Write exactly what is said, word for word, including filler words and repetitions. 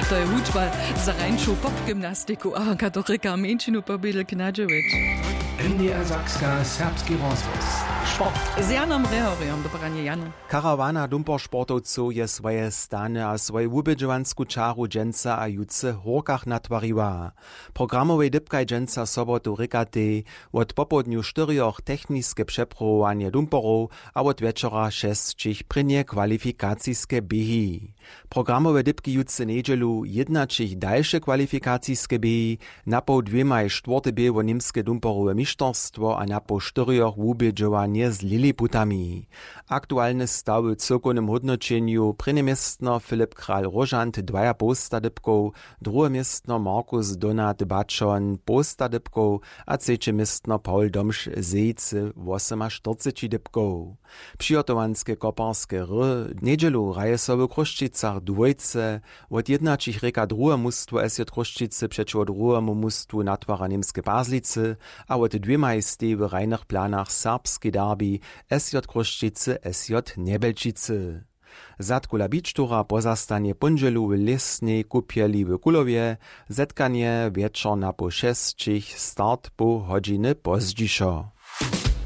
To je wučba za rańšu popgymnastiku a katorika mjeńšinu pobědl knadźeweć. N D R Sakska, serbski rozhłos. Sport. Z Janom Rehorjom, dobranje Jano. Karawana dumpersportowcow je swoje stany a swoju wubědźowansku čaru dźensa a jutře w Hórkach natwariła. Programowej dypkaj dźensa sobotu rěkatej, wot popołdnju štyrjoch techniske přepruwowanje dumperow a wot wječora šesćich prěnje kwalifikaciske běhi. Programowe dypki jutře njedźelu jědnaćich dalše kwalifikaciske běhi, napoł dwěmaj štwórte bě wo němske dumperowe mišterstwo a napoł štyrjoch wubědźowanje z liliputami. Aktualny stawy w cyłkownym hódnoćenju: prěnje městno Filip Kral Róžant dwajapołsta dypkow, druhe městno Markus Donat Bačon połsta dypkow a třeće městno Pawl Domš Zejcy wosymaštyrceći dypkow. Přihotowanske koparske hry njedźelu hraje so w Chrósćicach dwójce. Wot jědnaćich rěka druhe mustwo S J Chrósćicy přećiwo druhemu mustwu natwara Němske Pazlicy a wot dwěmaj stej w hrajnych planach serbski derbi S J Chrósćicy S J Njebelčicy. Zadkula Bičtura pozastanje póndźelu w lěsnej kupjeli w Kulowje. Zetkanje wječor napoł šesćich, start poł hodźiny pozdźišo.